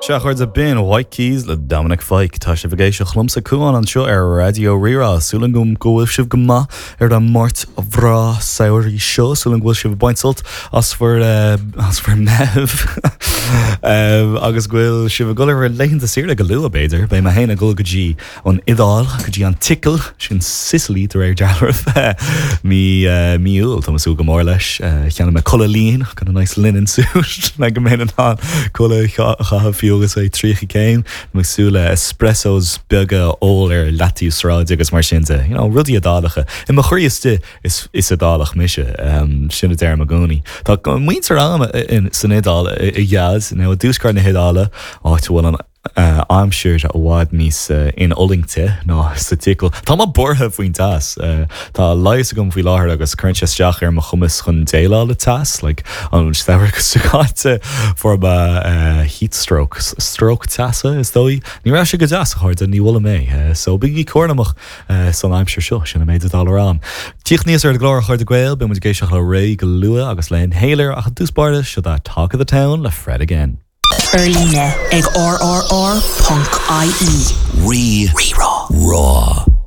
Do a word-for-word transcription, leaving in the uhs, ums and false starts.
Sea, a chairde, b'in White Keys le Dominic Fike tá sibh ag éisteacht liomsa Cuán anseo ar Raidió Rí-Rá súil agam go bhfuil sibh go maith ar an Máirt bhreá samhraidh seo súil agam go bhfuil sibh ag baint sult as bhur as bhur Meitheamh agus go bhfuil sibh ag dul ar laethanta saoire go luath b'fhéidir, beidh mé féin ag dul go dtí an Iodáil go dtí an tSicil sin Sicily de réir dealraimh mí mí Iúil tá súil go mór leis cheannaigh mé culaith lín got a nice linen suit le go mbeinn in ann culaith a chaitheamh fiú agus é tríocha céim ag súil le espressos beaga ól ar leataobh sráide agus mar sin de you know, rudaí Iodálacha. I mo chroí istigh is is Iodálach mise um, sin a deirim i gcónaí. Tá muintir agam san Iodáil i ghead nó i dtuaisceart na hIodáile áit bhfuil an uh, aimsir i bhfad níos uh, infhulaingte ná sa tSicil. Tá mé buartha faoin teas. Uh, tá leigheas agam faoi láthair agus cuireann sé isteach ar mo chumas chun déileáil le teas, like, an samhradh seo caite fuair mé uh, heat stroke, stroke teasa is dóigh. Ní raibh sé go deas a chairde ní bhfuil mé, uh, so bígí cúramach uh, san aimsir seo sin an méid atá le rá. Tíocht níos ar glór chuir de Gael, beidh muid ag éisteacht le Raye go luath agus le Inhaler ach i dtús báire seo é Talk of the Town le Fred again. Ar líne ag rrr.ie. Rí Rí-Rá. Rá.